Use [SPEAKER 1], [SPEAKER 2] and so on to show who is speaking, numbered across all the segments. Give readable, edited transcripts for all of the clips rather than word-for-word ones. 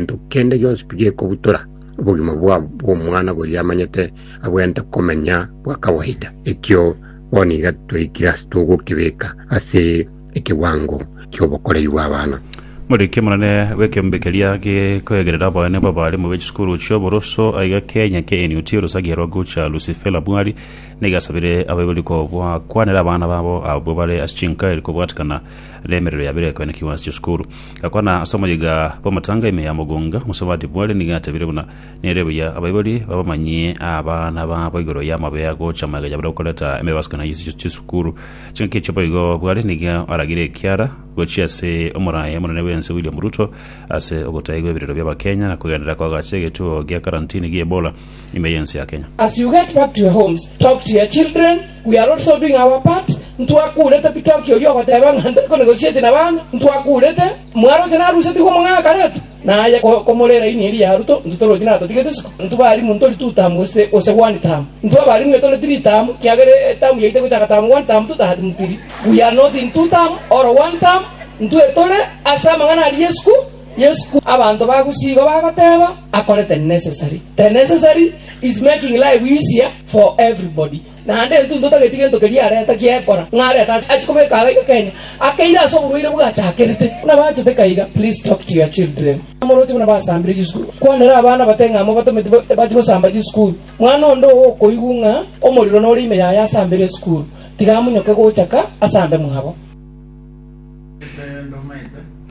[SPEAKER 1] Gento kende gionsi pi gekobutora obogima bw'omwana boria amanyete abwenerete komenya bwa kawaida. Ekio bono iga twaikire ase togokebeka ase ekewango ki'obokoreri bw'abana.
[SPEAKER 2] Omoriki omonene bw'ekeombe keria gekoegerera oboene bw'abalimu be chisukuru chi'oboroso aiga Kenya KNUT orosagia rwa Gucha Lucifella Bwari nigo asabire abaibori kobakwanera abana babo abwo bare ase chinka eri kobwatekana nemerero yabere ekoenekigwa ase chisukuru. Gakwana ase omoyega bw'amatanga ime ya Mugunga, Mosubati Bwari nigo atebire buna nere buya abaibori babamanyie abana babo igoro y'amabe agocha magega yabare gokoreta emebasikano ye chisukuru. Chingaki echio boigo Bwari nigo aragire ekiara gochia ase omoraia omonene bw'ense William Ruto ase ogotaigwa ebirero bi'Abakenya na kogenderera koagacha egetuo gia karantini gi'Ebola ime y'ense ya Kenya.
[SPEAKER 3] As you get back to your homes, talk to your children, we are also doing our part, ntwakurete bitoki oria ogoteba ng'a ntari konegotiate na bana, ntwakurete, mwaroche narusetigwe omong'aka karetu, naye komore eraini eria ya Ruto, intwe torochi natotigete isiko, intwe barimu ntori two term gose gose one term, intwe abarimu etore three term, kiagera eterm yaito egochaka term one term two term three, we are not in two term or one term, intwe tore ase amang'ana aria y'esukuru. Yesu abanto ba Gusii igo bagoteba akore the necessary. The necessary is making life easier for everybody. Naende intwe ntotageti gento keria areta kiekora ng'a arete ache kobeka iga iga Kenya akeire ase oborwaire bwachakerete. Buna bachete kaiga please talk to your children. Moroche buna basambire chisukuru. Kwanera abana bate ng'a mobatometi bachie gosamba chisukuru. Mwana onde oo okoigwa ng'a omorero nore ime yaye asambere esukuru, tiga amonyoke gocha ka asambe mwabo.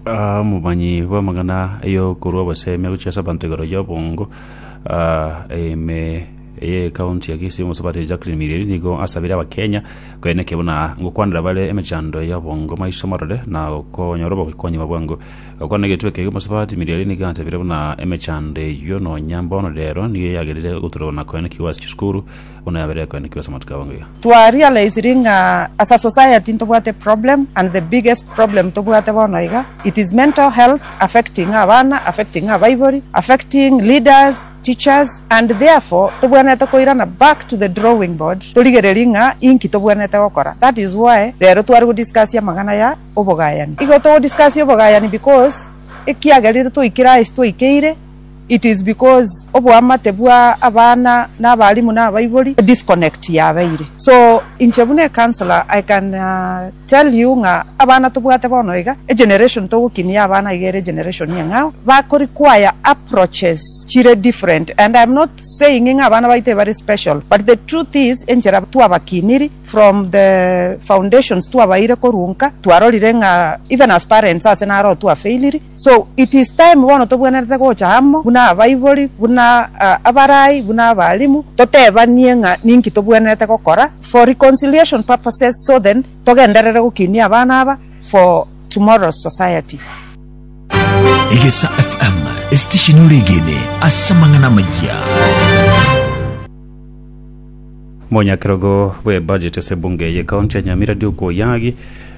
[SPEAKER 2] Omomanyi bw'amang'ana y'okorua obosemia gochia ase abanto igoro y'obongo ime y'ekaunti ya Kisii Omosubati Jacqueline Mireri nigo asabire abakenya koenekia buna ngokwanera bare emechando y'obongo maiso marore na konyora obokonyi bwa bwango. Gokwana egetwe eke Omosubati Mireri nigo atebire buna emechando eyio nonya mbono rero nigo yagerire goturwa na koenekigwa ase chisukuru buna yabeire ekoenekigwa ase amatuko abongo iga.
[SPEAKER 4] Twa realisiri ng'a as a society ntobwate problem and the biggest problem tobwate bono iga it is mental health affecting abana, affecting abaibori, affecting leaders, teachers and therefore tobwenerete koirana back to the drawing board torigererie ng'a inki tobwenerete gokora. That is why rero tware go discuss amang'ana ya obogayani. Igo togo discuss obogayani because ekiagerire twaikire ase twaikeire, It is because oboamate bwa abana na abalimu na abaibori disconnect yabeire. So inche buna e councillor I can tell you ng'a abana tobwate bono iga, egeneration togokinia abana iga ere egeneration eng'ao, bako require approaches chire different and I am not saying ng'a abana baito ebare special but the truth is enchera twabakiniri from the foundations twabaire korwa nka twarorire ng'a even as parents ase naro twafailiri. So it is time bono tobwenerete gocha amo buna abaibori, buna abarai, buna abalimu, totebanie ng'a ninki tobwenerete gokora for reconciliation purposes so then togenderere gokinia abana aba for tomorrow's society.
[SPEAKER 5] Egesa FM, esitesheni oregene ase amang'ana amayia.
[SPEAKER 2] Omonyakerogo bw'ebudget ase ebunge y'ecounty ya Nyamira Duke Oyagi,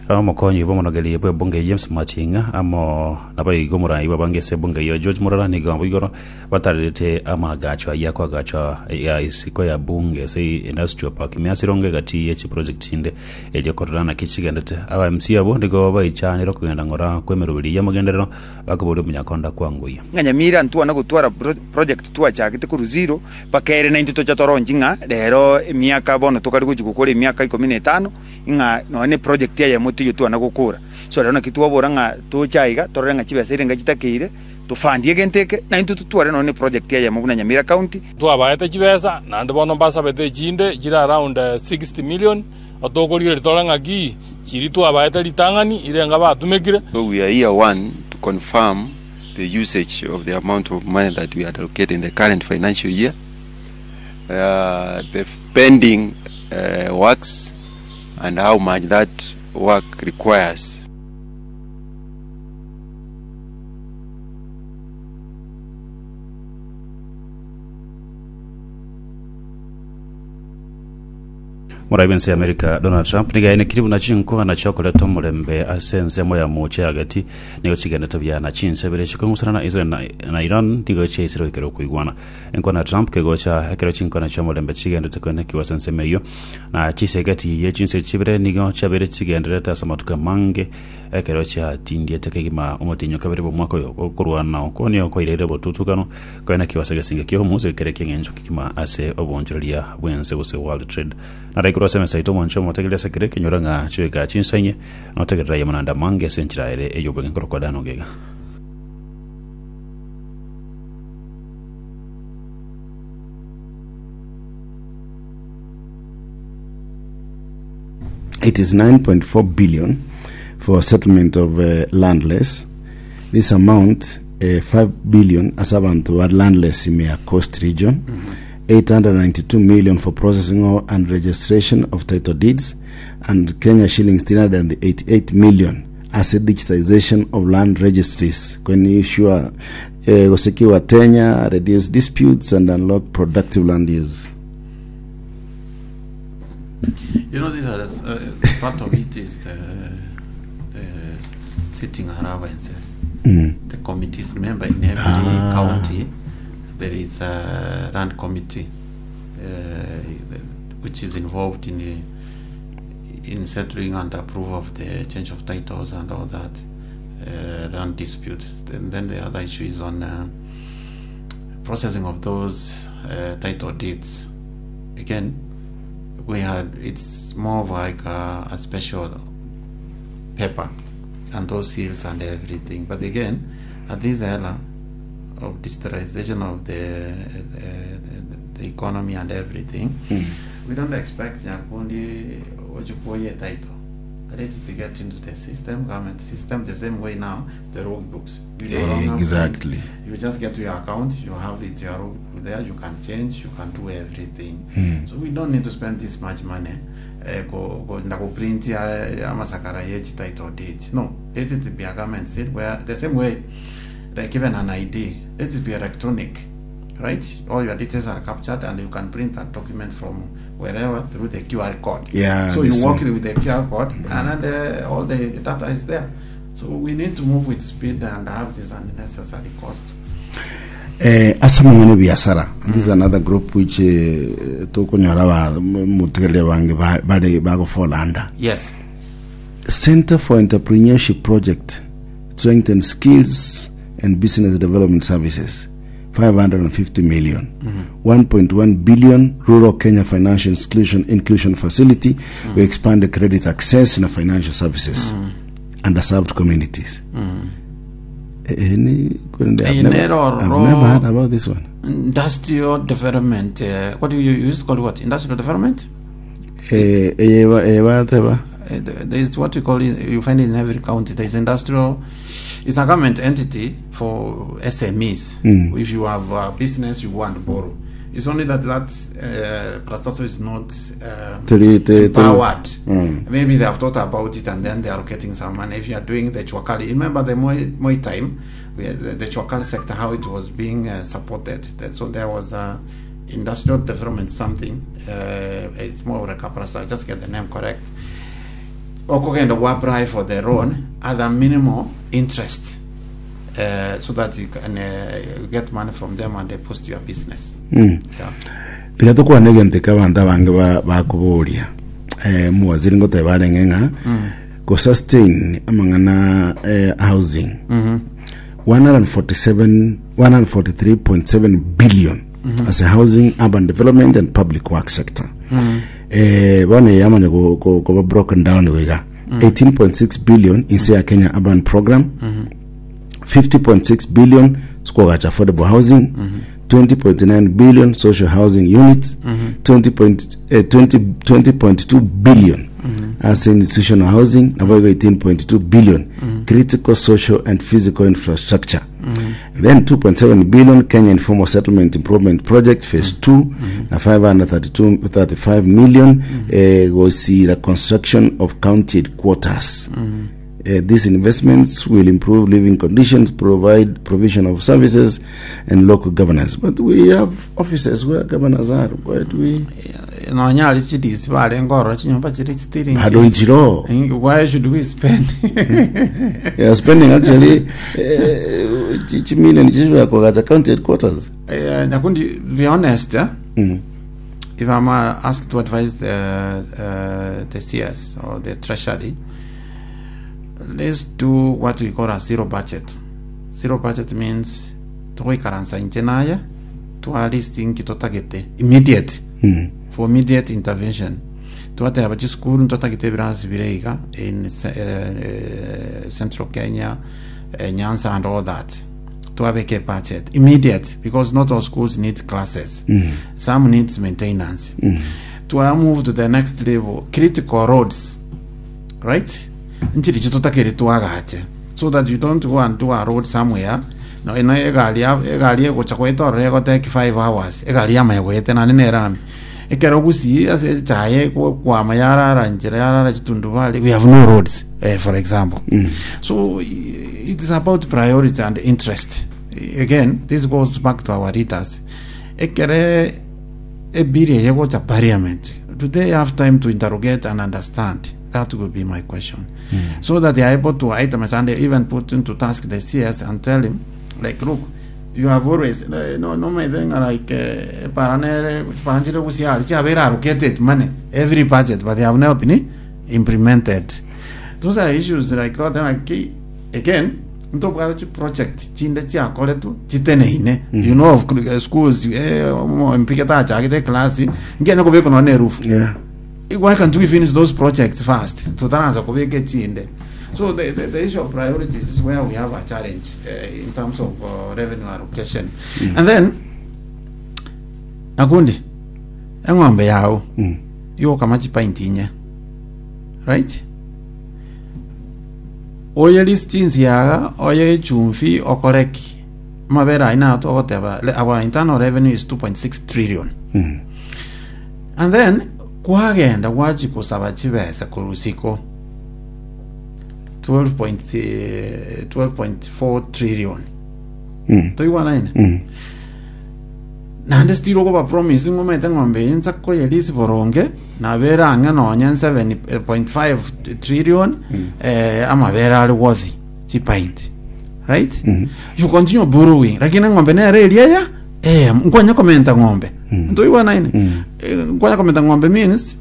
[SPEAKER 2] omokonyi bw'omonogeri bw'ebunge James Mating'a amo naboigo omorai bw'abange ase ebunge eyio George Murara nigo abo igoro batarerete amaagacho ayio akoagachwa ya isiko ya bunge ase Industrial Park ime ase Rongo egati ye chiproject chinde erio korora naki chigendete. Aba MC abwo nigo baichanire okogenda ng'ora kw'emeroberi y'amagenderero bakoboria omonyakonda kwangoyia.
[SPEAKER 6] Ng'a Nyamira ntwana gotwara project twachagete korwa zero, Mpaka ere naintwe tocha toronchi ng'a rero emiaka bono tokare gochia gokora emiaka ikomi na etano, ng'a nonya ne project eyemo teiyo twana gokora. So rero naki twabora ng'a toche aiga torore ng'a chibesa erenga chitakeire, tofundie egento eke, naintwe totware nonya ne project eyemo buna Nyamira County.
[SPEAKER 7] Twabaete chibesa, naende bono mbasabete echinde chire around 60 million, tokorigereria tore ng'aki chiria twabaete ritang'ani irenga batumekire.
[SPEAKER 8] So we are here one to confirm the usage of the amount of money that we had allocated in the current financial year, uh, the pending uh, works and how much that work requires.
[SPEAKER 2] Morai bw'ense ya Amerika Donald Trump nigo aenekirie buna chinkwana chiokoreta omorembe ase ensemo ya mocha ya gati nigo chigendete buya na chinse ibere chikong'usana na Israel na, na Iran nigo chiaisire goikera okoigwana. Enkwana ya Trump kegocha ekero chinkwana chi'omorembe chigendete koenekigwa ase ensemo eyio na chisegeti ye chinse chibere nigo chiabeire chigendererete ase amatuko amange ekero chiatindiete kegima omotienyi o kabere bw'omwaka oyo. Okorwana okwo nigo kwaireire obotutukano koenekigwa ase egesinge ki'omosa ekere ki'eng'encho kegima ase oboonchoreria bw'ense gose World Trade. Nare korwa ase emesa yaito omwancho omotegereri ase kera ekenyoro ng'a chigoika chinsa inye, notegerere aye amananda amange ase enchera ere ey'obweng'e korokwa Dan Ogega.
[SPEAKER 9] It is 9.4 billion for settlement of uh, landless. This amount uh, 5 billion ase abanto ba landless ime ya Coast region. 892 million for processing of and registration of title deeds and Kenya shillings 388 million ase digitization of land registries kwenisure eh, gosekiwa tenure reduce disputes and unlock productive land use.
[SPEAKER 10] You know, these are part of it is the, the sitting allowances. The committees, remember, in every county there is a land committee uh, which is involved in the, in settling and approval of the change of titles and all that uh, land disputes. And then the other issue is on uh, processing of those uh, title deeds. Again, we had it's more of like a, a special paper and those seals and everything. But again, at this era of digitalization of the the, the economy and everything, we don't expect Nyakundi Ojukoye title. Let it get into the system, government system, the same way now the road books. We no longer print.
[SPEAKER 9] Exactly.
[SPEAKER 10] You just get to your account, you have it, your road book there, you can change, you can do everything. So we don't need to spend this much money. Eh, go go ndakuprint ya amasakara ye title deed. No, let it be a government seal where the same way like even an ID, let it be electronic. Right? All your details are captured and you can print that document from wherever through the QR code.
[SPEAKER 9] Yeah,
[SPEAKER 10] So you
[SPEAKER 9] this
[SPEAKER 10] walk
[SPEAKER 9] one.
[SPEAKER 10] with the QR code and then all the data is there. So we need to move with speed and have this unnecessary cost.
[SPEAKER 9] Eh, ase amang'ana ebiasara this is another group which eh, tokonyora ba motegerere bange ba- bare bagofola under
[SPEAKER 10] Yes.
[SPEAKER 9] Center for Entrepreneurship Project strengthen skills and business development services 550 million 1.1 billion rural Kenya financial inclusion, inclusion facility we expand the credit access na financial services underserved communities Eh, eh, ni- kwende, I've
[SPEAKER 10] Eh,
[SPEAKER 9] never,
[SPEAKER 10] nero
[SPEAKER 9] I've
[SPEAKER 10] ro-
[SPEAKER 9] never heard about this one
[SPEAKER 10] Industrial development. Uh, what do you use to call it? What? Industrial development?
[SPEAKER 9] Eh, eh, ba- eh, bateba
[SPEAKER 10] There is what you call it, you find it in every county. There is industrial, it's a government entity for SMEs. If you have a business, you want to borrow. It's only that that uh, is not empowered. Maybe they have thought about it and then they are getting some money. If you are doing the Chwakali, remember the Moi, Moi time, we had the, the Chwakali sector, how it was being supported. So there was a industrial development something. It's more of a caprasa, just get the name correct. Okogenda go apply for the loan at a minimal interest so that you can get money from them and they post your business. Yeah.
[SPEAKER 9] Tiga tokwane egento eke abanto abange ba- bakoboria eh, omowaziri ngoteba arenge ng'a go sustain amang'ana eh, housing 147 143.7 billion as a housing urban development and public work sector eh, bono eye yamanya go- go- koba broken down iga 18.6 billion inse ya kenya urban program 50.6 billion sikogacha affordable housing 20.9 billion social housing units 20 point, eh, 20 20.2 billion as institutional housing nabo igo 18.2 billion critical social and physical infrastructure then 2.7 billion Kenya Informal Settlement Improvement Project phase 2 na 532 35 million eh, gosira construction of county headquarters these investments will improve living conditions, provide provision of services, and local governance. But we have offices where governors are. Why do we?
[SPEAKER 10] Nonya aria chidisi barenge ororo chinyomba chire chitiringi.
[SPEAKER 9] Bado nchiro.
[SPEAKER 10] Why should we spend?
[SPEAKER 9] You are spending actually eh, chi- chimilion chichibea kuagacha county headquarters.
[SPEAKER 10] Eh, Nyakundi, be honest, eh? If I'm asked to advise the CS or the Treasury, let's do what we call a zero budget. Zero budget means togoikaransa inche naye twa list inki totagete immediate for immediate intervention twateba chisukuru ntotagete ebirasi bire iga in central Kenya Nyanza and all that twabeka ebudget immediate because not all schools need classes some needs maintenance twa move to the next level critical roads right nchiri chitotakeri twagache so that you don't go and do a road somewhere no eno egari ya- egari egocha goeta ororo egoteki 5 hours egari yamanya goeta nane nerami ekero gusii ase echaye kwama yarara nchera yarara chitundubari we have no roads eh, for example so it is about priority and interest again this goes back to our leaders ekere ebiri eye gocha parliament do they have time to interrogate and understand that would be my question so that they are able to itemize and they even put into task the cs and tell him like look you have always eh, no no my thing like eh, paranere paranchire gusia chiabera allocated money every budget but they have never been implemented those are issues like that like again ntobwate chi project chinde chiakoretwe chiteneine you know of eh, schools eh, omo- mpike tachagete class nkianya kobekwa nonye na erufu
[SPEAKER 9] Yeah.
[SPEAKER 10] why can't we finish those projects first totaraanza kobeka echinde so the, the, the issue of priorities is where we have a challenge uh, in terms of revenue allocation and then akundi eng'ombe yao yokama chipainti inye right oye list chinsiaga oye echumbi okore ki amabere ayio nayo togoteba le- our internal revenue is 2.6 trillion And then kwagenda gwachia gosaba chibesa korwa isiko 12.4 trillion toigwanaine naende still okoba promise ng'omete ng'ombe eye nsa koyerisi boronge nabere ang'e nonye 7.5 trillion eh, amabere are worthy chipainti right you continue borrowing lakini eng'ombe nere eria ya eh nkwanya komenta ng'ombe ntoigwanaine Eh, nkwanya komenta ng'ombe means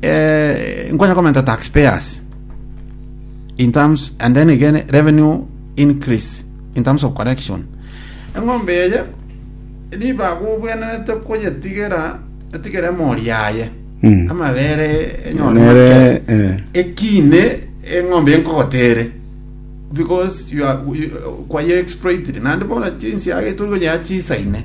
[SPEAKER 10] eh, nkwanya komenta taxpayers in terms and then again revenue increase in terms of collection eng'ombe eye ribaga obwenerete koyetigera etigere emori yaye amabere enyore
[SPEAKER 9] Nere,
[SPEAKER 10] make.
[SPEAKER 9] eh.
[SPEAKER 10] ekine eng'ombe enkogotere because you are you, kwaye exploited naende bono chinsiaga tori konyara chisaine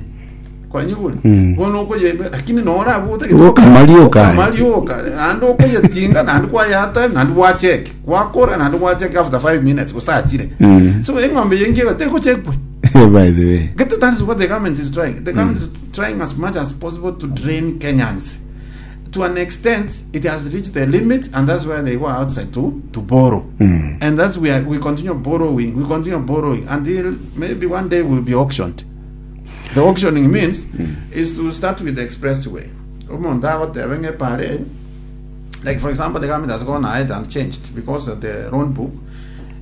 [SPEAKER 10] kwanyigure bono okoye lakini nora abwo otagete
[SPEAKER 9] Okamarioka.
[SPEAKER 10] okamarioka naende okoyetinga naende kwayata naende gwacheke gwakora naende gwacheke after 5 minutes gosachire so eng'ombe eye nkiega tegochekwe
[SPEAKER 9] by the way
[SPEAKER 10] Get that is what the government is trying. The government is trying as much as possible to drain Kenyans. To an extent, it has reached the limit, and that's why they go outside to borrow. And that's where we continue borrowing. We continue borrowing until maybe one day we'll be auctioned. The auctioning means is to start with the expressway. Omonto agoteba ng'a epare, Like for example, the government has gone ahead and changed because of the loan book.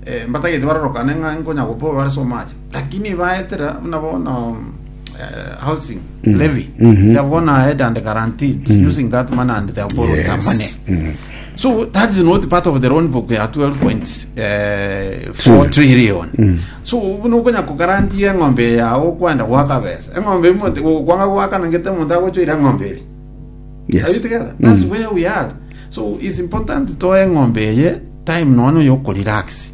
[SPEAKER 10] Eh, mbatagete barorokane ng'a nkonya gopoa bare so much lakini baetera buna bono eh, housing levy they have gone ahead and guaranteed using that money and they have borrowed some money so that is not part of the loan book ya 12.4 trillion so buna okonya kogarantia eng'ombe yao kwenda gwaka besa eng'ombe omonto gokwanga goakana ngete omonto agochoira eng'ombe eri
[SPEAKER 9] yes
[SPEAKER 10] Are you together? That's where we are. So it's important toe eng'ombe eye time nono yokorelax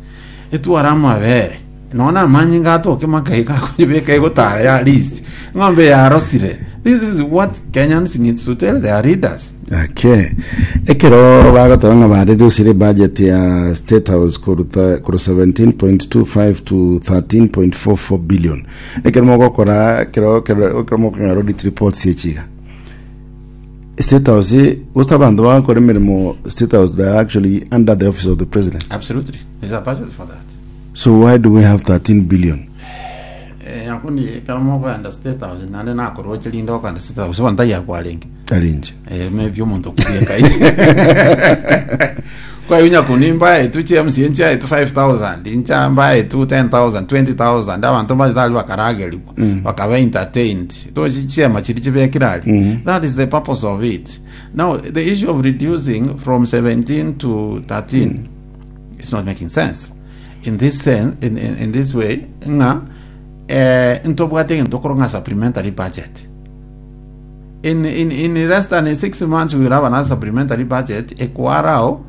[SPEAKER 10] etware amabere nono amanyinga atoke makaiga akoyebeka egotara ya least eng'ombe yarosire this is what Kenyans need to tell their leaders
[SPEAKER 9] Okay. Ekero bagoteba ng'a bareducire budget ya State House koruta korwa 17.25 to 13.44 billion. Ekero mogokora ekero ekero ekero mokong'era audit reports echiga. State House gose abanto bagokora emeremo State House they are actually under the office of the president.
[SPEAKER 10] absolutely there's a budget for that
[SPEAKER 9] So why do we have 13 billion?
[SPEAKER 10] Eh, nyakundi ekero mokoenda State House naende nakoroche rinde okoenda State House bono taiyo akwarenge.
[SPEAKER 9] Tari inche.
[SPEAKER 10] Eh, maybe omonto okubieka kwa hiyo nyakundi mbaetu chi MCA nchiaetu 5000 incha mbaetu 10000 20000 abanto mbachete aria bakaragerigwa bakaba entertained tochi chiema chiri chibekire aria that is the purpose of it now the issue of reducing from 17 to 13 it's not making sense in this sense in, in, in this way ng'a eh, ntobwate egento okorwa ng'a supplementary budget in, in, in less than six months we will have another supplementary budget ekwarao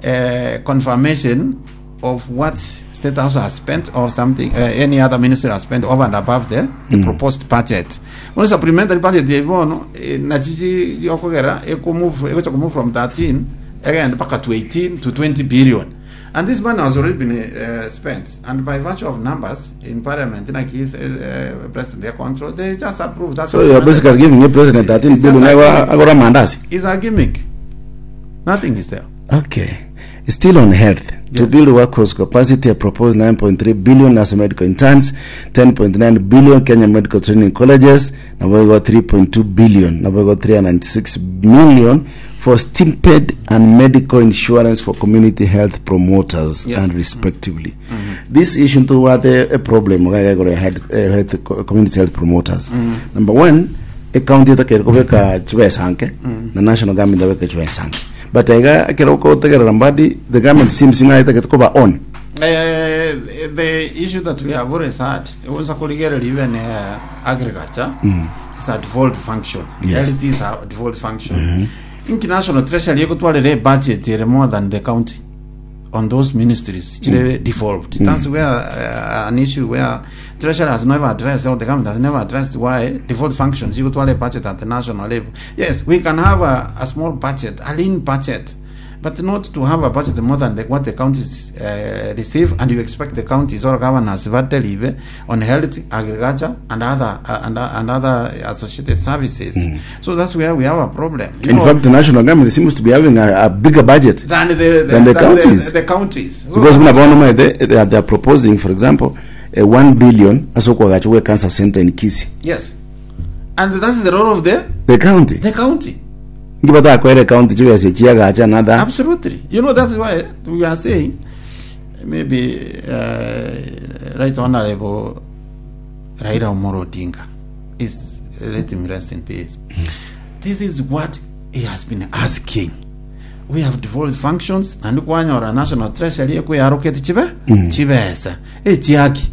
[SPEAKER 10] eh, confirmation of what state house has spent or something uh, any other ministry has spent over and above the, the proposed budget bono supplementary budget eye bono eh, nachi chi- okogera ekomove egocha komove from 13 egende mpaka to 18 to 20 billion And this money has already been uh, spent. And by virtue of numbers in parliament, like his uh, president, their control, they just approve that.
[SPEAKER 9] So you are basically giving your president 13
[SPEAKER 10] It's just
[SPEAKER 9] billion
[SPEAKER 10] a
[SPEAKER 9] agora
[SPEAKER 10] gimmick.
[SPEAKER 9] agora mandazi.
[SPEAKER 10] It's a gimmick. Nothing is there.
[SPEAKER 9] Okay. Still on health. To
[SPEAKER 10] Yes.
[SPEAKER 9] build workforce capacity, a proposed 9.3 billion as medical interns, 10.9 billion Kenya Medical Training Colleges, now we got 3.2 billion, now we got 396 million for stipend and medical insurance for community health promoters
[SPEAKER 10] Yes.
[SPEAKER 9] and respectively. This issue to what a, a problem health, health, community health promoters. Number one, ecounty etakeire kobeka chibesa nke na national government abeke chibesa nke but iga ekero okotegerera mbadi the government seems ng'a etagete koba on
[SPEAKER 10] The issue that we have always had was even agriculture is a default function.
[SPEAKER 9] Yes.
[SPEAKER 10] Health is a default function. International Treasury ekotwarire budget ere more than the county on those ministries chire default. That's where an issue where Treasury has never addressed or the government has never addressed why default functions ekotware budget at the national level. Yes, we can have a small budget, a lean budget, but not to have a budget more than the, what the counties receive, and you expect the counties or governors to deliver on health, agriculture, and other and other associated services. So that's where we have a problem. You
[SPEAKER 9] in
[SPEAKER 10] know,
[SPEAKER 9] fact the national government seems to be having a bigger budget
[SPEAKER 10] than
[SPEAKER 9] than the counties.
[SPEAKER 10] the counties. So
[SPEAKER 9] because muna bono mae they are proposing for example a 1 billion asokwagacha cancer center in Kisii
[SPEAKER 10] yes, and that's the role of the
[SPEAKER 9] the county
[SPEAKER 10] the county.
[SPEAKER 9] ngibata kwere county chibesa chiagacha another
[SPEAKER 10] Absolutely. You know, that's why we are saying maybe Right Honorable Raila Omolo Odinga is, let him rest in peace. This is what he has been asking. We have devolved functions and kwanyora national treasury ekuyaroketi chibe chibesa echiaki.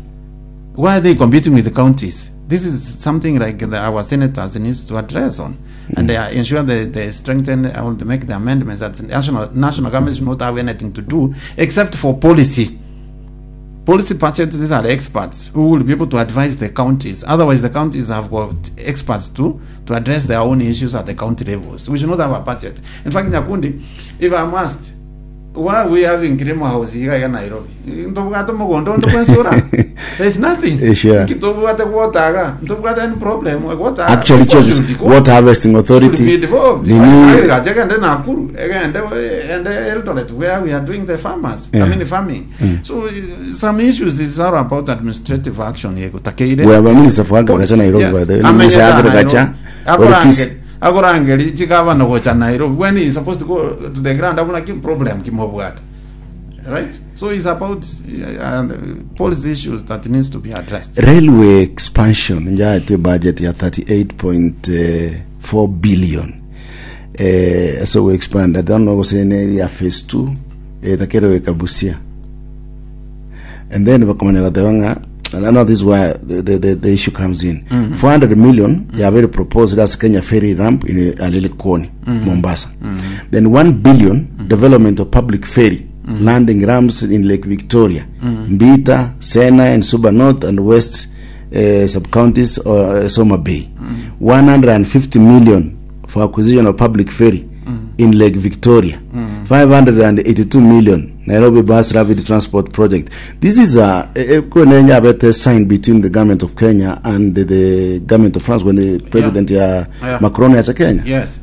[SPEAKER 10] Why are they competing with the counties? This is something like our senators needs to address on, and they ensure they strengthen and they make the amendments that the national government should not have anything to do except for policy. Policy budget, these are experts who will be able to advise the counties. Otherwise, the counties have got experts to address their own issues at the county levels. We should not have a budget. In fact, Nyakundi, if I'm asked, why are we having Kilimo House here in Nairobi? Ntobwate mugondo ntokwensura. There's nothing.
[SPEAKER 9] Sure.
[SPEAKER 10] Kitobwate water, ntobwate any problem. Water.
[SPEAKER 9] Actually churches water harvesting authority
[SPEAKER 10] Should be devolved.
[SPEAKER 9] nini
[SPEAKER 10] Agriculture egende Nakuru, egende ende Eldoret where we are doing the farmers.
[SPEAKER 9] Yeah.
[SPEAKER 10] I mean farming. So some issues is all about administrative action yekutakeire.
[SPEAKER 9] We have a minister for agriculture Nairobi, by the way. Minister of agriculture, Orikisi.
[SPEAKER 10] Akorangeri chigavana gocha Nairobi when he is supposed to go to the ground abuna kim problem kimobwata. Right? So it's about policy issues that needs to be addressed.
[SPEAKER 9] Railway expansion njaetwe budget ya 38.4 billion so we expand I don't know gose ne ya phase 2 takerewe kabusia and then bakamanya gateba ng'a and I know this is where the issue comes in. 400 million yabere proposed as Kenya ferry ramp in Alilikoni, Mombasa. Then 1 billion development of public ferry landing ramps in Lake Victoria, Mbita, Sena, and Suba North and West sub-counties, Soma Bay. 150 million for acquisition of public ferry in Lake Victoria. 582 million Nairobi Bus Rapid Transport Project. This is a better sign between the government of Kenya and the government of France when the president ya Macron yacha Kenya.
[SPEAKER 10] Yes.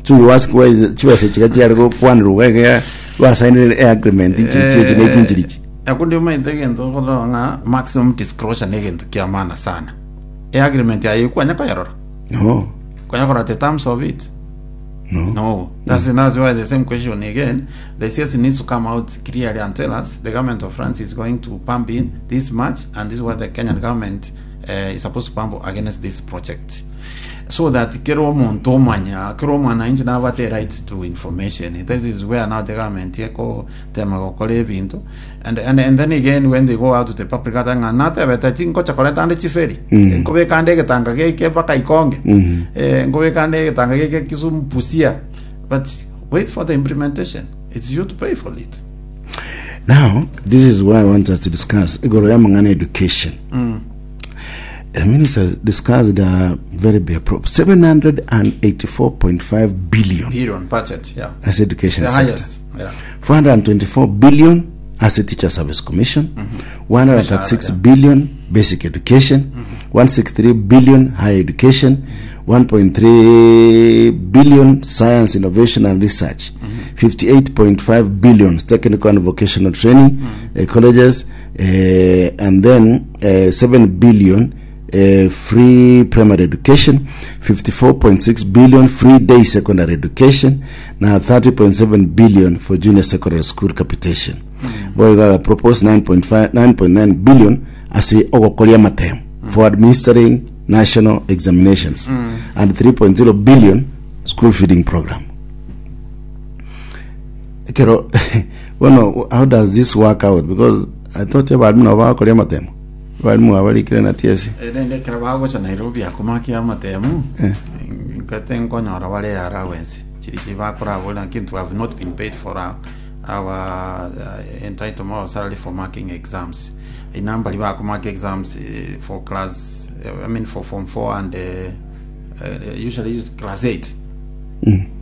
[SPEAKER 9] So you ask why chibese chikachiari kwanirwa gege basainire agreement ichi ichi
[SPEAKER 10] Akundi umaithe gento koronga maximum disclosure ne gento kia maana sana. E agreement ya ikwanya kayarora.
[SPEAKER 9] No.
[SPEAKER 10] Konya korora the terms of it.
[SPEAKER 9] No.
[SPEAKER 10] No, that's why the same question again. The CS needs to come out clearly and tell us the government of France is going to pump in this much, and this is what the Kenyan government is supposed to pump against this project. So that kero omonto omanya, kero omwananchi nabwate right to information. This is where now the government ekotema gokora ebinto. And, and, and then again when they go out to the public ata ng'a natebete chingocha koreta ande chiferi nkobeka ande egetanga geke mpaka ikonge eh, nkobeka ande egetanga geke Kisumu Busia but wait for the implementation it's you to pay for it
[SPEAKER 9] Now, this is why I want us to discuss igoro ya mang'ana education. The minister discussed a very big pro 784.5 billion
[SPEAKER 10] billion budget yeah
[SPEAKER 9] as education
[SPEAKER 10] the
[SPEAKER 9] sector.
[SPEAKER 10] highest yeah
[SPEAKER 9] 424 billion as a teacher service commission, 136
[SPEAKER 10] Mishahara, yeah.
[SPEAKER 9] billion basic education, 163 billion higher education, 1.3 billion science innovation and research, 58.5 billion technical and vocational training colleges, and then 7 billion free primary education, 54.6 billion free day secondary education, na 30.7 billion for junior secondary school capitation. Boiga propose 9.5 9.9 billion ase ogokoria amatemo for administering national examinations and 3.0 billion school feeding program. Ekero bono how does this work out because I thought abarimu nabo bagokoria amatemo abarimu abarikire na TSC
[SPEAKER 10] Rende ekero bagocha Nairobi akomakia amatemu nkate nkonyora bare allowance chiri chibakorabora lakini to have not been paid for our, our entitlement or salary for marking exams inamba bakomaka exams for class I mean for form 4 and usually use class 8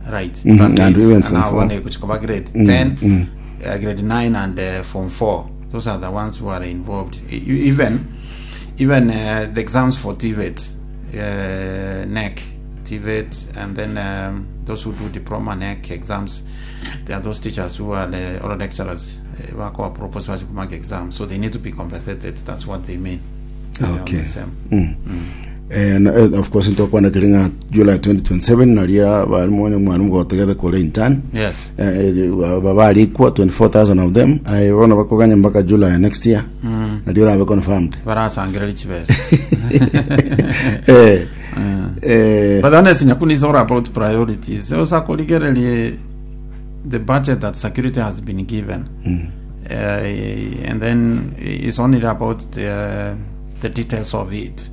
[SPEAKER 10] right class
[SPEAKER 9] and
[SPEAKER 10] 8
[SPEAKER 9] even
[SPEAKER 10] and
[SPEAKER 9] form
[SPEAKER 10] now
[SPEAKER 9] four.
[SPEAKER 10] one kuchikoba grade 10 grade 9 and form 4 those are the ones who are involved even even the exams for TVET NEC TVET and then those who do diploma NEC exams there are those teachers who are or lecturers wako propose wachikumaka exams so they need to be compensated that's what they mean They are on
[SPEAKER 9] Okay.
[SPEAKER 10] the same.
[SPEAKER 9] And of course ntokwana kiri ng'a July 2027 naria barimu onye mwarimu gotegete kore intern
[SPEAKER 10] yes
[SPEAKER 9] babarikwa 24000 of them aye bono bakoganya mpaka July next year nario orabe confirmed
[SPEAKER 10] barasangereri chibesa But honestly, Nyakuni is all about priorities. Also, the budget that security has been given, and then it's only about the details of it.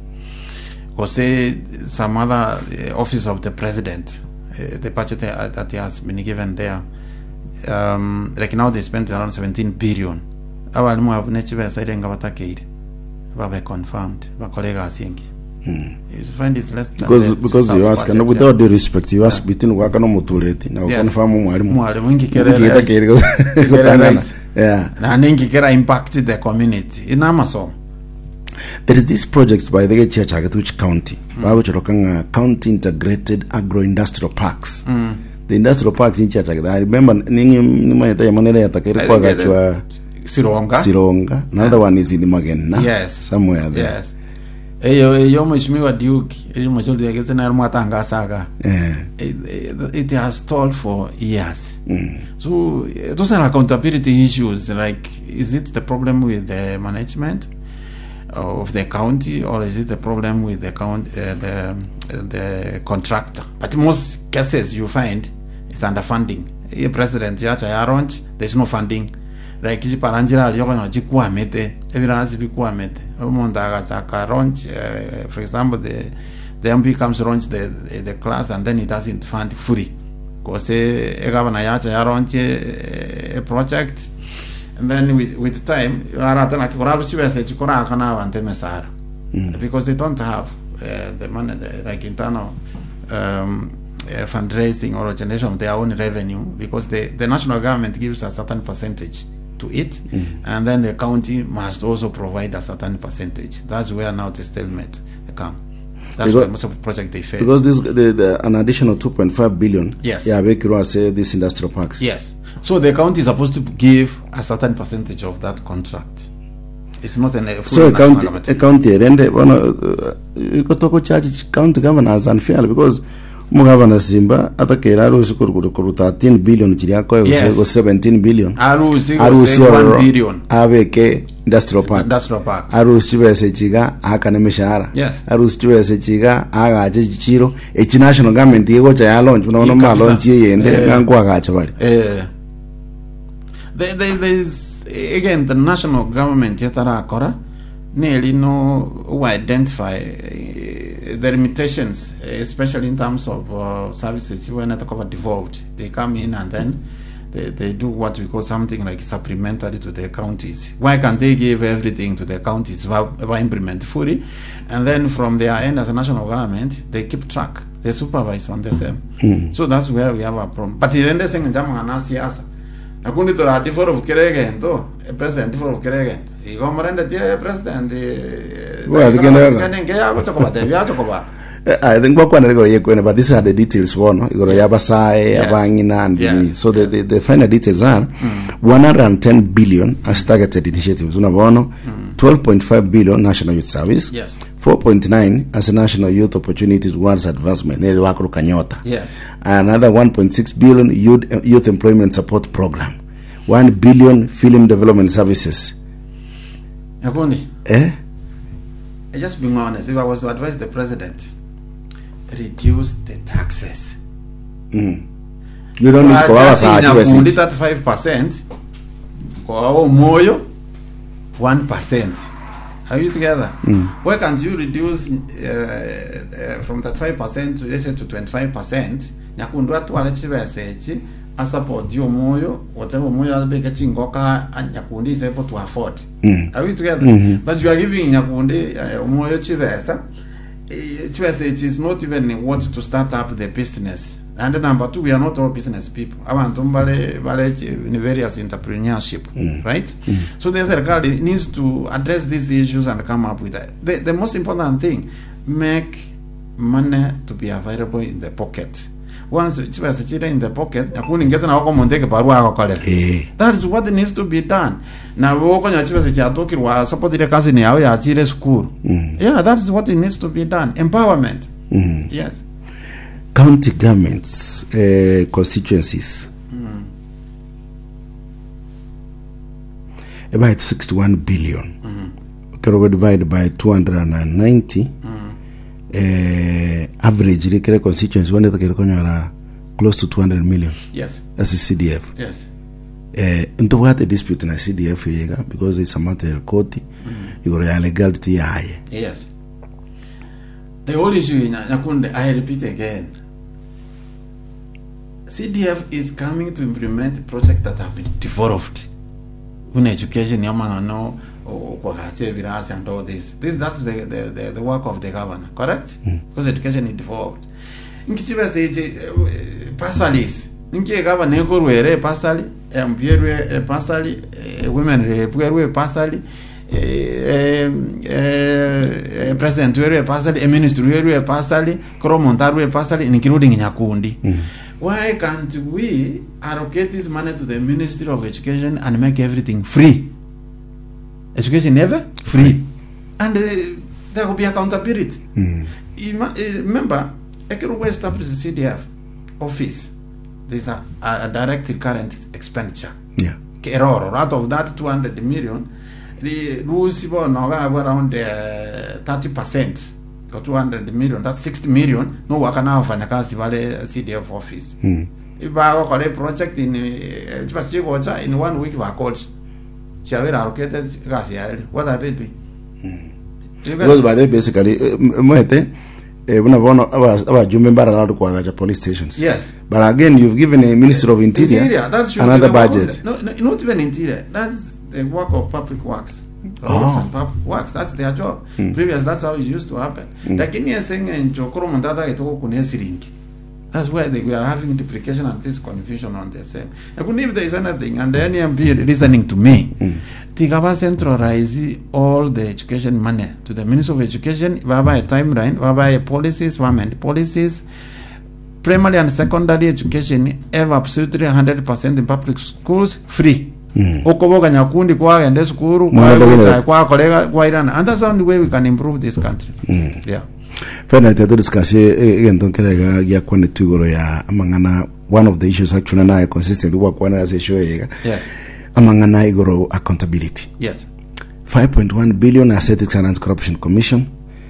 [SPEAKER 10] Because say some other office of the president, the budget that has been given there, like now they spent around 17 billion. Abalimu have nechibesa irenga batakeire babe confirmed bakolega asingi. You find it's less than
[SPEAKER 9] because
[SPEAKER 10] the
[SPEAKER 9] because you
[SPEAKER 10] staff
[SPEAKER 9] ask and
[SPEAKER 10] budget,
[SPEAKER 9] with
[SPEAKER 10] yeah.
[SPEAKER 9] all due respect you ask between gwaka no mutureti na
[SPEAKER 10] Yes.
[SPEAKER 9] confirm mwarimu
[SPEAKER 10] Mwarimu ingikere
[SPEAKER 9] Ngikita
[SPEAKER 10] rahisi.
[SPEAKER 9] kiri
[SPEAKER 10] Ngikere
[SPEAKER 9] gutangana.
[SPEAKER 10] rahisi.
[SPEAKER 9] yeah
[SPEAKER 10] na ningikera impact the community inamasomo
[SPEAKER 9] there is this project by the church Agatuch County bagochoroka nga county integrated agro industrial parks the industrial parks in church I remember ningi nimayeta yamanere yatakere
[SPEAKER 10] I
[SPEAKER 9] kwa
[SPEAKER 10] think
[SPEAKER 9] gachwa
[SPEAKER 10] Sironga
[SPEAKER 9] Sironga another one is in Magena
[SPEAKER 10] Yes.
[SPEAKER 9] somewhere there
[SPEAKER 10] yes eyo eyo mheshimiwa Duke eri mheshimiwa Duke na mwatangasaga
[SPEAKER 9] eh
[SPEAKER 10] it has stalled for years so those are accountability issues like is it the problem with the management of the county or is it the problem with the count, the contractor but most cases you find it's underfunding ye president yacha ya launch there's no funding like chiparanjira aliyokonya chikwamete ebirasi bikwamete omuntu agachaka launch for example the MP comes launch the class and then he doesn't fund fully because egavana yacha ya launch a project and then with time aratana kikora chibese chikora kana abantu emesara because they don't have the money like internal fundraising or generation of their own revenue because the national government gives a certain percentage to it and then the county must also provide a certain percentage. That's where now the stalemate come. That's
[SPEAKER 9] Because-
[SPEAKER 10] why most of the project they fail.
[SPEAKER 9] because this the an additional 2.5 billion
[SPEAKER 10] Yes.
[SPEAKER 9] yeah bekirwa say this industrial parks
[SPEAKER 10] Yes. So the county is supposed to give a certain percentage of that contract. It's not an a full
[SPEAKER 9] so a
[SPEAKER 10] national
[SPEAKER 9] county
[SPEAKER 10] government.
[SPEAKER 9] a county erende bono ikotoko charge county governors unfairly because Omogavana Simba atakeire arusie korwa korwa 13 billion chiria akoe gose
[SPEAKER 10] Yes.
[SPEAKER 9] gose 17 billion
[SPEAKER 10] Arusie gose
[SPEAKER 9] arusie
[SPEAKER 10] 1
[SPEAKER 9] ororo
[SPEAKER 10] billion.
[SPEAKER 9] abeke industrial park
[SPEAKER 10] Industrial park.
[SPEAKER 9] arusie chibesa echi iga aakane emeshahara
[SPEAKER 10] Yes.
[SPEAKER 9] arusie chibesa echi iga aagache chichiro echi national government egocha ya launch buna bono
[SPEAKER 10] Kabisa.
[SPEAKER 9] mbalonchi eyende
[SPEAKER 10] Eh.
[SPEAKER 9] ng'a nkoagacha bare
[SPEAKER 10] Eh. There, there, there is, again, the national government yetarakora neri no who identify eh, the limitations, eh, especially in terms of services when it cover devolved. They come in and then they do what we call something like supplementary to the counties. Why can't they give everything to the counties by implement fully? And then from their end as a national government, they keep track, they supervise on the same. So that's where we have a problem. But rende ase eng'encho amang'ana a siasa, nakundi tora devolve kera egento, eh, president devolve kera egento. Igo morendetie eh, president eh,
[SPEAKER 9] Well, kende gaka.
[SPEAKER 10] kende nke yagocha kobatebia acha koba.
[SPEAKER 9] Eh, I think bakwanire igoro yekwene but these are the details bono igoro y'abasae
[SPEAKER 10] Yes.
[SPEAKER 9] abang'ina and
[SPEAKER 10] Yes.
[SPEAKER 9] nini. so the, the final details are 110 billion as targeted initiatives una bono 12.5 billion national youth service
[SPEAKER 10] Yes.
[SPEAKER 9] 4.9 as a national youth opportunities towards advancement nere bakoroka nyota
[SPEAKER 10] Yes.
[SPEAKER 9] another 1.6 billion youth, youth employment support program 1 billion film development services
[SPEAKER 10] Nyakundi,
[SPEAKER 9] eh
[SPEAKER 10] I just being honest, if I was to advise the president, reduce the taxes.
[SPEAKER 9] you don't need koba abasacha
[SPEAKER 10] Nyakundi
[SPEAKER 9] chibesa
[SPEAKER 10] 35%, kwa omoyo 1%. Are you together? Why can't you reduce from 35% to let's say to 25%? Nyakundi atware chibesa echi asupport omoyo whatever omoyo abeke chingoka a- Nyakundi is able to afford. Are we together? But you are giving Nyakundi omoyo chibesa eh, chibesa echi is not even what to start up the business. And number two, we are not all business people. Abantu mbale bale in various entrepreneurship, right? So the serikali needs to address these issues and come up with that. The most important thing, make money to be available in the pocket. Once chibesa chire in the pocket, nyakundi ngeza na wako mondeke barua agokorera.
[SPEAKER 9] eh
[SPEAKER 10] That is what needs to be done. Na wokonya chibesa chiatokirwa support ile cousin yawe yachire school. Yeah, that is what it needs to be done. Empowerment. Yes.
[SPEAKER 9] county governments eh, constituencies about 61 billion kero divide by 290 eh, average rikere constituency one kere konyora close to 200 million
[SPEAKER 10] Yes.
[SPEAKER 9] as a CDF
[SPEAKER 10] Yes.
[SPEAKER 9] eh, ntobwate dispute na CDF yega because it's a matter of court igoro ya legality yaye
[SPEAKER 10] Yes. The whole issue in Nyakunde, I repeat again. CDF is coming to implement projects that have been developed. In education, yamangano, okwagache birasi and all this. This that's the work of the governor, correct? Because education is devolved. Nkichibese ichi pasalis. Nki governor ekorwere pasali, MP erwe pasali, women rep erwe pasali, president werwe pasali, a ministry werwe pasali, kromonta erwe pasali, including Nyakundi. Why can't we allocate this money to the Ministry of Education and make everything free? Education never free. And there will be accountability. Remember, Ekeruwe established the CDF office. There's a direct current expenditure.
[SPEAKER 9] yeah
[SPEAKER 10] Keroro, out of that 200 million, the rules bono have around 30% or 200 million, that's 60 million. No wakana wafanyakazi wale CDF office. Ibagokora project in chigocha in one week bakora chiabera allocated gasi yaeli. What are they doing? You
[SPEAKER 9] because by the basically mwete eh, buna bono abajumbe mbarara kwagacha police stations
[SPEAKER 10] Yes.
[SPEAKER 9] but again you've given a minister of interior,
[SPEAKER 10] Interior, that should
[SPEAKER 9] another
[SPEAKER 10] be the work
[SPEAKER 9] budget
[SPEAKER 10] Of the, no, no, not even interior. That's the work of public works. Roads and public works. That's their job. Previous, that's how it used to happen. Lakini esenge njokoro mundada itoko kune siringi. That's where we are having duplication and this confusion on the same. Lakini if there is anything, and any MP listening to me, Tigaba centralize all the education money to the Ministry of Education, baba a timeline, baba a policies, government policies, primary and secondary education ever absolutely 100% in public schools free. Okoboga nyakundi kwagenda esukuru
[SPEAKER 9] Mwana
[SPEAKER 10] kwakorega kwairana, and that's the only way we can improve this country. Yeah.
[SPEAKER 9] Finally, tete discuss egento nkere iga giakwanetwe igoro ya amang'ana one of the issues actually naye consistently gwakwanera ase eshow eye iga
[SPEAKER 10] Yes.
[SPEAKER 9] amang'ana igoro accountability
[SPEAKER 10] Yes.
[SPEAKER 9] 5.1 billion as Ethics and Anti-Corruption Commission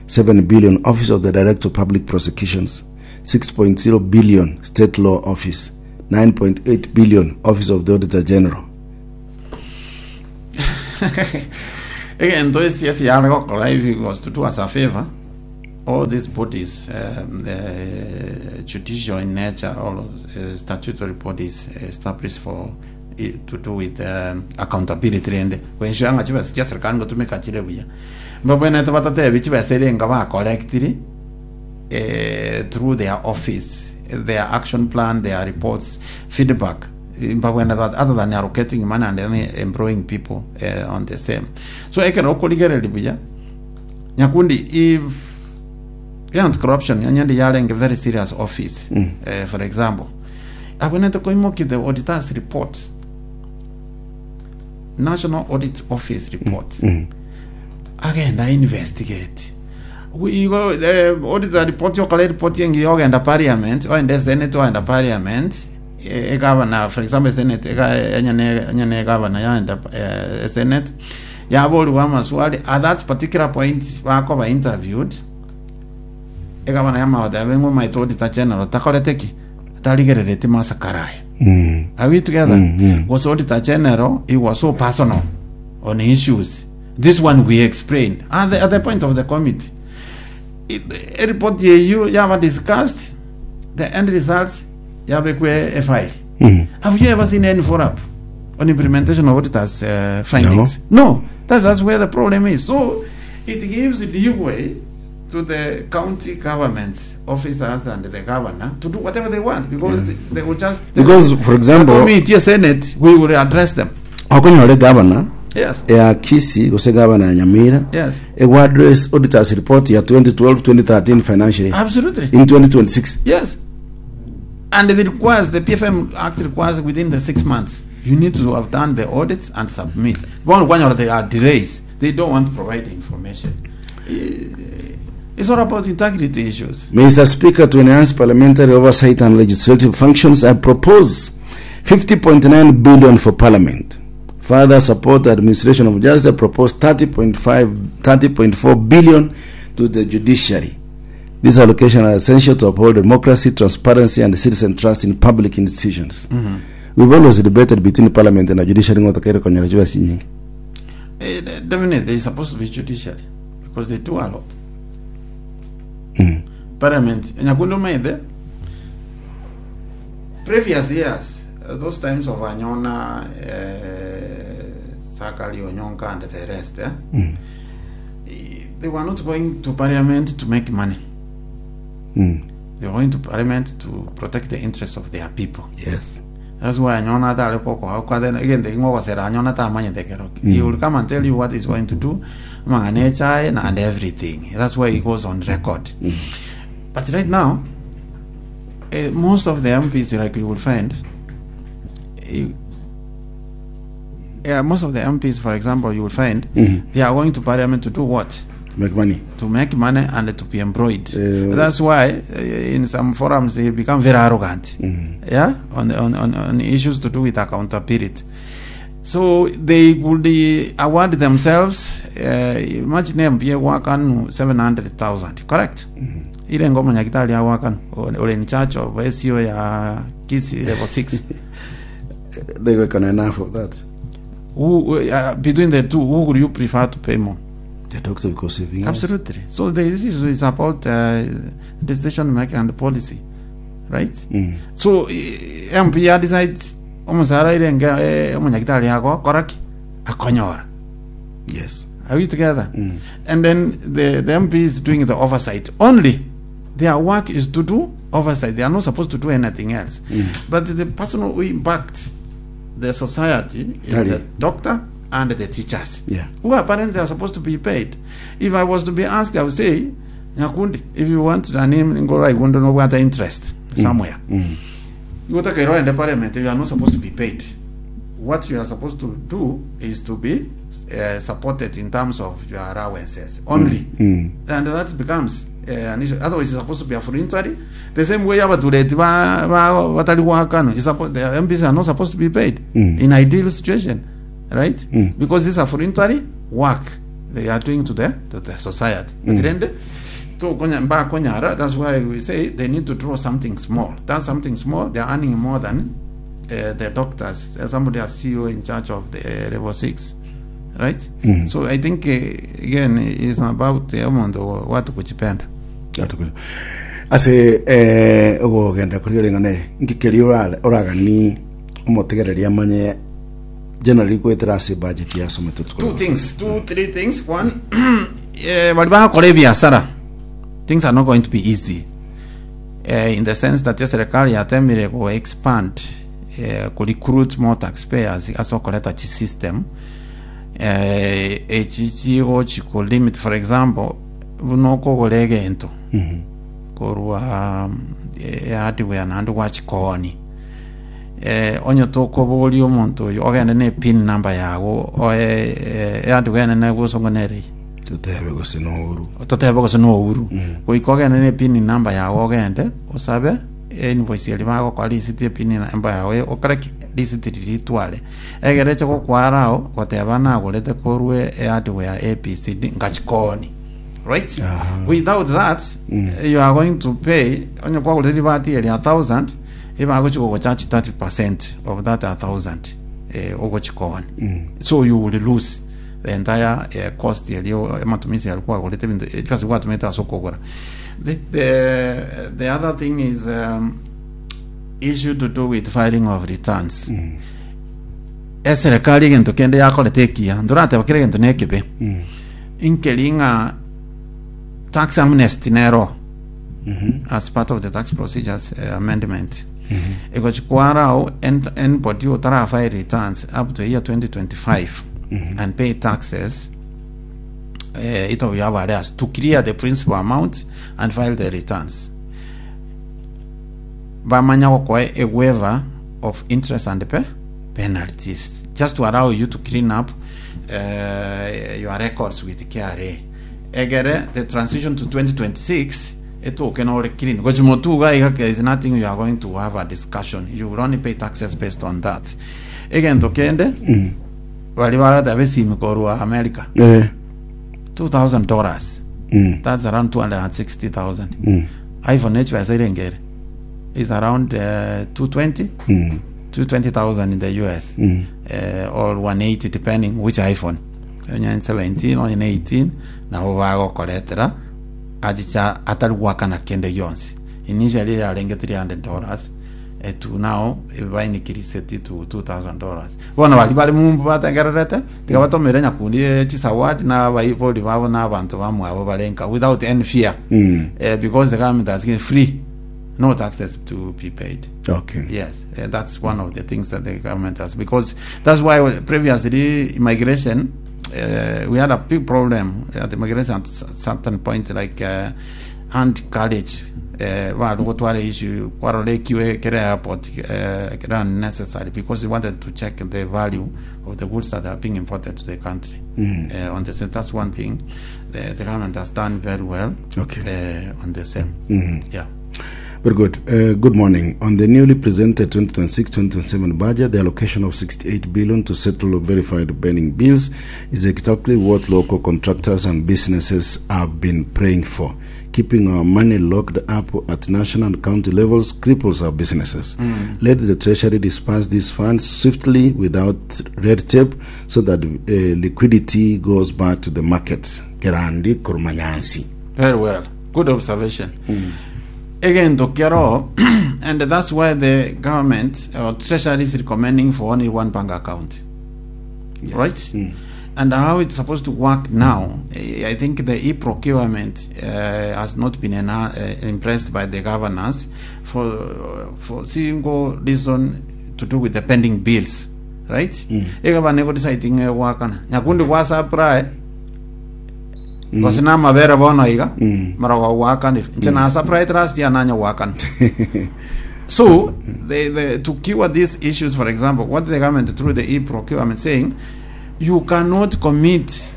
[SPEAKER 9] 7 billion Office of the Director of Public Prosecutions 6.0 billion State Law Office 9.8 billion Office of the Auditor General
[SPEAKER 10] Egento esiasi yare gokora if it was to do us a favor all these bodies the judicial in nature all statutory bodies established for to do with accountability rende koensure ng'a chibesa chia serikali ngotumeka chire buya mbabwenerete batatebi chibesa ere enga bacollectiri through their office their action plan their reports feedback mbabwenerete other than allocating money and then employing people on the same so ekero okorigereria buya nyakundi if anti corruption onye yarenge very serious office for example abwenerete koimokia the auditors report national audit office report agenda investigate igo auditor report yokora report engiya ogenda parliament ogenda senate ogenda parliament egavana for example senate ega enyene enyene egavana yaenda senate yaboriwa amaswali at that particular point bakoba interviewed egavana yamagoteba ng'o omanyete auditor general takorete ki tarigerereti masakara aya are we together gose auditor general he was so personal on issues this one we explained at the, at the point of the committee It- eripoti eyio yaba discussed the end results yabekwe efile have you ever seen any follow up on implementation of auditors uh, findings no, that's, that's where the problem is so it gives leeway to the county governments officers and the governor to do whatever they want because they, they will just
[SPEAKER 9] Because, for example-
[SPEAKER 10] the committee senate we will address them
[SPEAKER 9] okonyora egavana
[SPEAKER 10] yes
[SPEAKER 9] ya Kisii gose gavana ya Nyamira
[SPEAKER 10] yes
[SPEAKER 9] egwa address auditors report ya 2012 2013 financial year
[SPEAKER 10] absolutely
[SPEAKER 9] in 2026
[SPEAKER 10] Yes. And it requires, the PFM Act requires within the 6 months, you need to have done the audits and submit. Bono kwanyora there are delays. They don't want to provide information. It's all about integrity issues.
[SPEAKER 9] Mr. Speaker, to enhance parliamentary oversight and legislative functions, I propose 50.9 billion for parliament. Further support the administration of justice, I propose 30.5, 30.4 billion to the judiciary. These allocations are essential to uphold democracy, transparency, and citizen trust in public institutions. We've always debated between parliament and the judiciary ng'otokaire konyora chibesa chinyinge.
[SPEAKER 10] Definitely, they're supposed to be judiciary because they do a lot. Parliament, Nyakundi Umaithe, previous years, those times of Anyona, Sakali, Onyonka, and the rest, eh? They were not going to parliament to make money. They were going to parliament to protect the interests of their people.
[SPEAKER 9] Yes.
[SPEAKER 10] That's why Anyona atare koko kwa then again the ngogosera Anyona tamanyete keroki. He will come and tell you what he's going to do, amang'ana echae na and everything. That's why he goes on record. But right now, most of the MPs like you will find, yeah, most of the MPs, for example, you will find they are going to parliament to do what?
[SPEAKER 9] Make money.
[SPEAKER 10] To make money and to be employed. That's why in some forums they become very arrogant. Yeah, on issues to do with accountability. So they would award themselves, imagine MP wakanu 700,000, correct? Ile ngoma nyakitali ya wakanu, or in charge of SEO ya Kisii level 6.
[SPEAKER 9] They work on enough of that.
[SPEAKER 10] Who, between the two, who would you prefer to pay more?
[SPEAKER 9] The doctor because saving.
[SPEAKER 10] Absolutely. So the issue is about decision making and policy, right? So MP ya decides omusara irenge omonyagitari ako koraki akonyora.
[SPEAKER 9] Yes.
[SPEAKER 10] Are we together? And then the MP is doing the oversight only. Their work is to do oversight. They are not supposed to do anything else. But the person who impacts the society is
[SPEAKER 9] Tari.
[SPEAKER 10] the doctor and the teachers.
[SPEAKER 9] Yeah.
[SPEAKER 10] Who apparently are supposed to be paid. If I was to be asked, I would say, Nyakundi, if you want to name Ngora, I wouldn't know what interest somewhere. You take a role in the parliament, you are not supposed to be paid. What you are supposed to do is to be supported in terms of your allowances only. And that becomes eh, an issue. Otherwise, it's supposed to be a voluntary. The same way abatureti ba, ba, batari goakanwa, it's supposed, the MPs are not supposed to be paid in ideal situation, right? Because this is a voluntary work they are doing to the, to the society. But rende, tokonya mbakonyara, that's why we say they need to draw something small. That's something small, they are earning more than uh, the doctors. Uh, somebody as CEO in charge of the uh, level 6 right so i think uh, again it's about eh, omonto watu kuchipenda
[SPEAKER 9] Atukuja. Ase eh, ogogenda kori oreng'ana eye, nki keria ora- oragani omotegereria amanye generally goetera ase budget yasomete
[SPEAKER 10] two things two three things one eh, bari bagakora ebiasara things are not going to be easy eh, in the sense that eserikali yatemire go expand eh, ku recruit more taxpayers ase okoreta chi system eh, echi chigochi ku limit for example buna okogora egento korwa eh, hardware naende gwachikooni eh, onye tokoboria omonto oyo ogende ne pin number yago oe eh, hardware enene gosongo nere
[SPEAKER 9] Totebe gose nouru.
[SPEAKER 10] Totebe gose nouru. Goika ogende ne pin number yago ogende osabe invoice eria bagokora receipt ye pin number yago okore ki receipt riria ritware. Egere eche gokwara ao goteba nagorete korwa ehardware ABCD ngachikoni. Right? Without that you are going to pay onye kwagorete ribati eria 1000 ebagochi gogocharge 30% of that 1000 eh, ogochikoni. So you will lose the entire eh, cost eria amatumizi aria kwagorete ebinto chibesa gwatumete ase okogora. The, the, the other thing is um, issue to do with filing of returns. Eserekari egento kende yakorete ekiya ntorateba kera egento nekebe inkeri ng'a tax amnesty nero as part of the tax procedures eh, amendment egochikwarao anybody otarafile returns up to year 2025 and pay taxes eh, it will have arrears to clear the principal amount and file the returns bamanya gokoa a waiver of interest and pe penalties just to allow you to clean up uh, your records with KRA egere the transition to 2026 etoke nore clean gochi motuga iga there is nothing you are going to have a discussion you will only pay taxes based on that egento kende bari barateba esimi korwa America
[SPEAKER 9] Eh.
[SPEAKER 10] 2000 dollars
[SPEAKER 9] Mm.
[SPEAKER 10] that's around 260,000 iPhone echibesa irenge ere is around uh, 220
[SPEAKER 9] Mm.
[SPEAKER 10] 220,000 in the US uh, or 180 depending which iPhone onye 17 onye 18 nabo bagokoretera achicha atari gwakana kende gionsi initially yarenge 300 dollars eh, to now bainikirisetie to 2000 dollars bono bari bari mumbu bategererete tiga batomere nyakundi eh, chisawadi na abaibori babo na abanto bamwabo barenka without any fear
[SPEAKER 9] Mm.
[SPEAKER 10] eh, because the government has given free no taxes to be paid
[SPEAKER 9] Okay.
[SPEAKER 10] Yes, uh, that's one of the things that the government has because that's why previously immigration uh, we had a big problem at immigration at certain point like uh, hand carriage uh, barugotwara issue kwarora ekiwe kere airport uh, kere unnecessary because they wanted to check the value of the goods that are being imported to the country uh, on the same that's one thing the, the government has done very well
[SPEAKER 9] Okay.
[SPEAKER 10] uh, on the same yeah
[SPEAKER 9] Very good. Uh, good morning. On the newly presented 2026-2027 budget, the allocation of 68 billion to settle verified pending bills is exactly what local contractors and businesses have been praying for. Keeping our money locked up at national and county levels cripples our businesses. Let the Treasury disperse these funds swiftly without red tape so that uh, liquidity goes back to the market. Kerandi Kurmanyansi.
[SPEAKER 10] Very well. Good observation. Egento kero, and that's why the government or treasury is recommending for only one bank account. Right? And how it's supposed to work now, eh, I think the e-procurement uh, has not been ena- uh, impressed by the governors for for single reason to do with the pending bills, right? Egabane go deciding wakana. Nyakundi kwa supply gose namabere bono iga marogo gwakanire inche na supply trust yananya gwakana so they, they, to cure these issues for example what the government through the e-procurement saying you cannot commit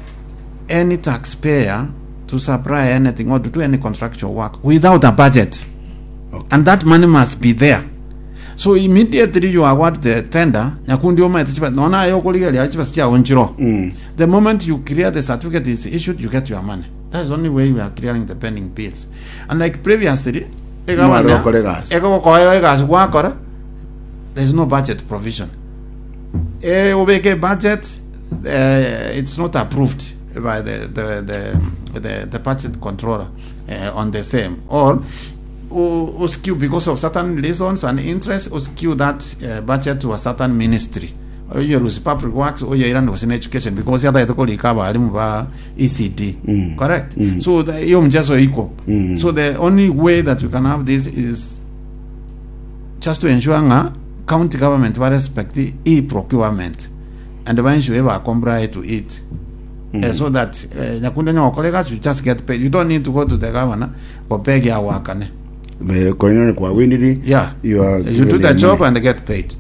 [SPEAKER 10] any taxpayer to supply anything or to do any contractual work without a budget.
[SPEAKER 9] Okay.
[SPEAKER 10] And that money must be there. So immediately you award the tender, nyakundi omaete chiba nona aye okorigereria chibesa chiago nchiro. The moment you clear the certificate is issued, you get your money. That is the only way we are clearing the pending bills. And like previously,
[SPEAKER 9] Mware gokora egasi.
[SPEAKER 10] egokoa egasi gwakora, there is no budget provision. Eh, obeke budget, eh, it's not approved by the, the, the, the, the budget controller eh, on the same. Or o, skew because of certain reasons and interests, o skew that eh, budget to a certain ministry. Oyo rusi public works, oyo ira gose na education because yataete korika abarimu ba ECD. Correct? So the, iyo mchezo iko. So the only way that we can have this is just to ensure ng'a county government ba respect e-procurement and ba ensure ba comply to it. Eh, so that eh, nyakunde nyokore gasi you just get paid you don't need to go to the governor gopegi awakane
[SPEAKER 9] Koinyone kwa winiri
[SPEAKER 10] yeah
[SPEAKER 9] you are
[SPEAKER 10] you do
[SPEAKER 9] given
[SPEAKER 10] the
[SPEAKER 9] your
[SPEAKER 10] job
[SPEAKER 9] money.
[SPEAKER 10] and get paid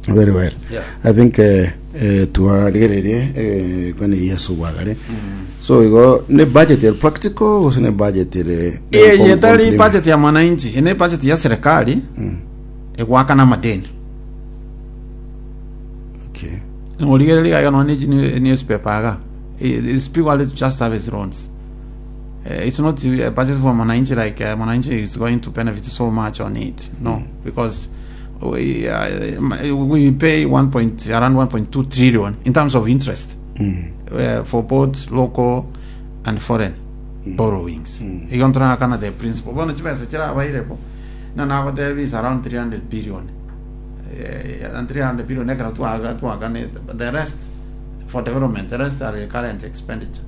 [SPEAKER 9] very well
[SPEAKER 10] Yeah.
[SPEAKER 9] i think eh, eh, twarigererie eh, kwani yesu bwagare so igo ne budget ere practical gose ne budget ere
[SPEAKER 10] eye etari budget ya mwananchi ene budget ya serikali egwakana amadeni
[SPEAKER 9] okay
[SPEAKER 10] origereria iga nonye ne newspaper aga it's purely just service loans it's not a budget for mwananchi like mwananchi is going to benefit so much on it no because we, we pay 1 point, around 1.2 trillion in terms of interest for both local and foreign borrowings igo ntorakana the principal bono chibesa chirabairepo na nagotebia is around 300 billion eh, and 300 billion ekero twaga twaganete but the rest for development the rest are recurrent expenditure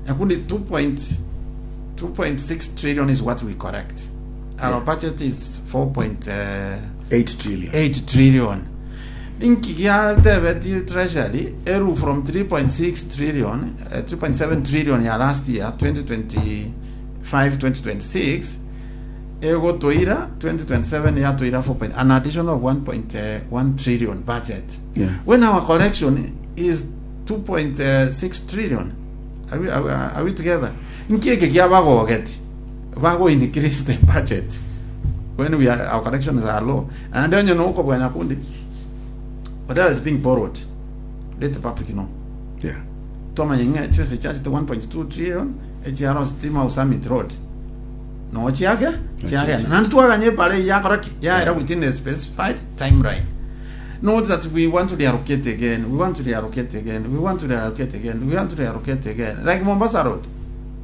[SPEAKER 10] nakundi 2.2.6 trillion is what we correct our budget is 4.8
[SPEAKER 9] 8 trillion
[SPEAKER 10] trillion inki giatebeti treasury eru from 3.6 trillion eh, 3.7 trillion ya last year 2025 2026 egotoira 2027 yatoira 4 point, an additional of 1.1 trillion budget
[SPEAKER 9] Yeah.
[SPEAKER 10] when our collection is 2.6 trillion are we, are, we, are we together nkieke kia bagogeti bago increase the budget when we are, our collections are low and then you know ukobwanya kundi whatever is being borrowed let the public know
[SPEAKER 9] yeah
[SPEAKER 10] twamanya ng'a chibesa chiachete 1.2 trillion echiaro stima summit road no chiake chiagenda nandi twaganye pare yakora ki yaera within a specified timeline not that we want to reallocate again we want to reallocate again we want to reallocate again we want to reallocate again like Mombasa Road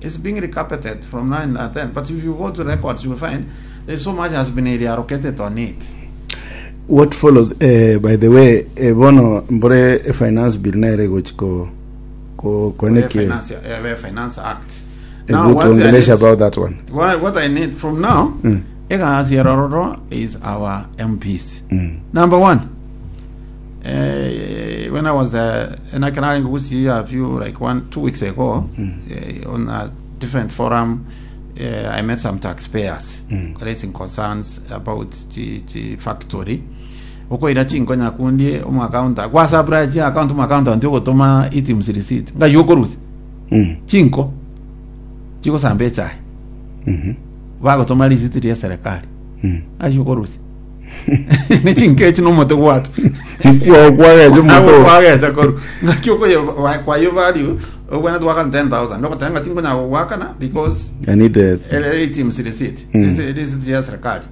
[SPEAKER 10] it's being recarpeted from 9 and 10 but if you go to records you will find there's so much has been reallocated on it
[SPEAKER 9] what follows eh, by the way eh, bono mbore eh, finance bill nere gochiko ko koneke
[SPEAKER 10] finance, eh, finance act
[SPEAKER 9] now
[SPEAKER 10] what I
[SPEAKER 9] tuongelesha
[SPEAKER 10] need-
[SPEAKER 9] about that one
[SPEAKER 10] what, what I need from now, mm. is our MPs. Number one, eh, when I was uh, in Akanari a few, like 1, 2 weeks ago, on a different forum, I met some taxpayers raising concerns about the, the factory. Okoira chinkonya kundi omu account gwasabura chi account omu account nti ogotoma items receipt nga yokorusi chinko chigosamba echae bagotoma receipt ria serikali ayokorusi nechinkechi nomote gwatu
[SPEAKER 9] kwagecha moto
[SPEAKER 10] kwagecha koru ngaki okoye kwayo value obwana twakana 10000 ndokotenga tinkonya gwakana because
[SPEAKER 9] i need a
[SPEAKER 10] items receipt receipt ya serikali.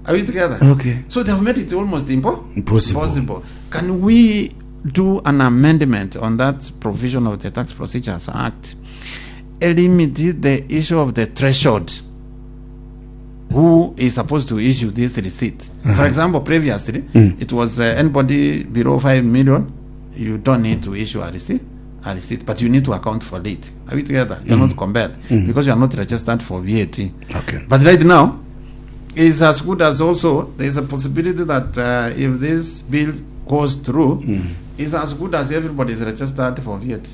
[SPEAKER 10] Are we together?
[SPEAKER 9] Okay.
[SPEAKER 10] So they have made it almost
[SPEAKER 9] Impossible.
[SPEAKER 10] impossible. Can we do an amendment on that provision of the Tax Procedures Act? Eliminate the issue of the threshold. Who is supposed to issue this receipt? For example, previously it was anybody below 5 million, you don't need to issue a receipt, but you need to account for it. Are we together? You're not compelled because you are not registered for VAT.
[SPEAKER 9] Okay.
[SPEAKER 10] But right now, it's as good as also there's a possibility that if this bill goes through, it's as good as everybody is registered for VAT.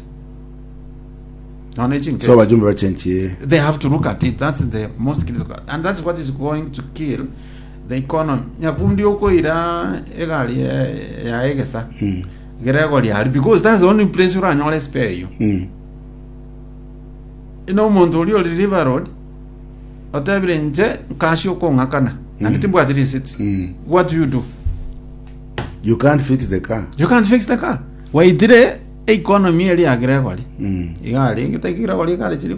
[SPEAKER 9] So bajumbe bachenchie
[SPEAKER 10] They have to look at it. That's the most critical, and that's what is going to kill the economy. Nyakundi okoira egali ya egesa gerego liali because that's the only place uranyole spare you. Ino omonto oria ori River Road otebire inche nkashi okong'akana naende timbwati receipt. What do you do?
[SPEAKER 9] You can't fix the car.
[SPEAKER 10] You can't fix the car. Waitire economy eri ya Gregory. Iga arenge taki Gregory kare chiri.